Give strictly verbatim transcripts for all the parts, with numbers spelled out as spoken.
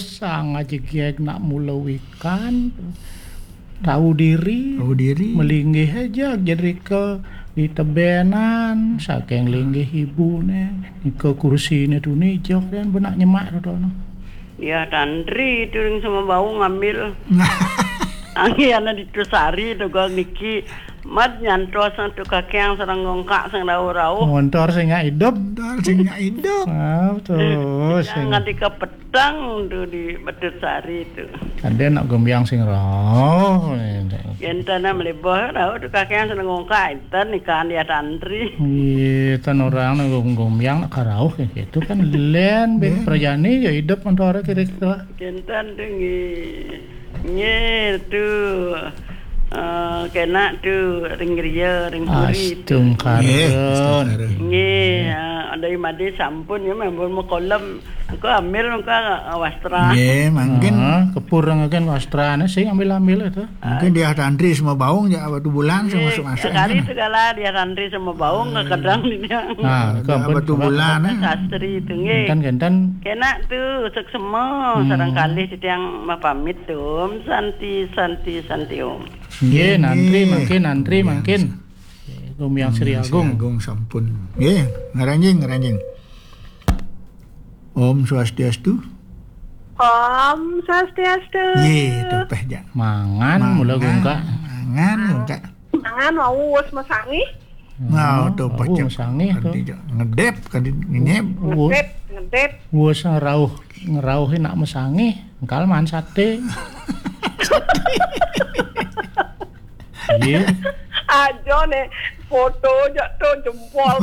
Sang aja geg nak mula wikan, tahu diri, tahu diri, melinggih aja jadi ke di tebenan, saking linggih ibu ne, ke kursi ne tu ni jok dan benak nyemak tu no. Ya, tantri tu ring sama bau ngambil. Angin ana di tu sari tu gua niki. Mat nyantos tu kakeang sareng gongkak sing rauh-rauh. Montor sing nggak hidup. Montor sing nggak hidup. Ah, betul. Sing nganti ke petang tu di Betut Sari tu. Ada nak gembiang sing rauh. Enten am leboh rauh tu kakeang sareng gongkak enten ikan dia tantri. Iya, tan orang nak gem-, gembiang nak karauh kayak gitu kan. Len, ben, perjani ya hidup montor kira-kira. Enten tu nggih. Nggih, tu. Eh, kena tu ring griya, ring puri tu. Astungkara. Nggih, astungkara. Nggih, ah, dari made sampun ya, ampun mekolem. Aku ambil muka, ah, wastra. Nggih, mungkin. Ah, kepur ngaken wastrane sing ambil-ambil itu. Mungkin dia tantri sama baung ya, waktu bulan sama masuk-masuk kali itu. Segala dia tantri sama baung ke kadang dia. Nah, itu ampun, waktu bulan, eh. Sastri itu nggih. Enten, enten. Kena tu seksema sareng kalih titiang mapamit tu. Om Santi, Santi, Santi Om. Nggih, nantri mangkin, nantri mangkin. Gumiang Sri Agung. Agung sampun. Nggih, ngaranjing, ngaranjing. Om Swastiastu. Om Swastiastu. Nggih, tepeh jak. Mangan mula gungkak. Mangan gungkak. Mangan wau wis mesangih. Nah, hmm, tuh, oh, pacak mesangih tuh. Ngedep, kan ngenyep. Ngedep, ngedep. Wes ngerauh, ngerauh nak mesangih, engkal man sate. Iya. Aja ne foto jak tuh jempol.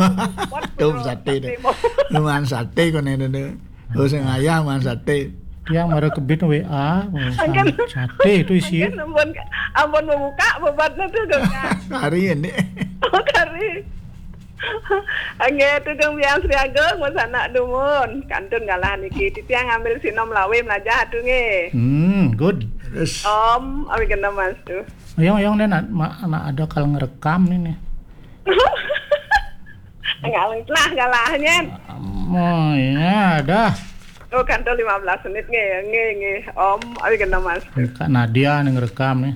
Tuh sate deh. Lu man sate kok nih, deh. Oh, sing ayam man sate. Yang mara kebit W A, oh, sate itu isi. Ampun, ampun membuka bebatnya tuh, Kak. Hari ini. Oh, hari. Nggih, Tugeng Biang Sri Agung, wis anak dumun. Kantun galah niki. Titiang ngambil sinom lawe melajah atuh nggih. Hmm, good. Terus. Om, awi kena mas tuh. Yang, yang nih nak, ma-, nak ada kal ngerekam nih, nih. Enggak lah, galah nyen. Oh, iya, dah. Oh, kantun lima belas menit nggih, nggih, nggih. Om, awi kena mas tuh. Kak Nadia nih ngerekam nih.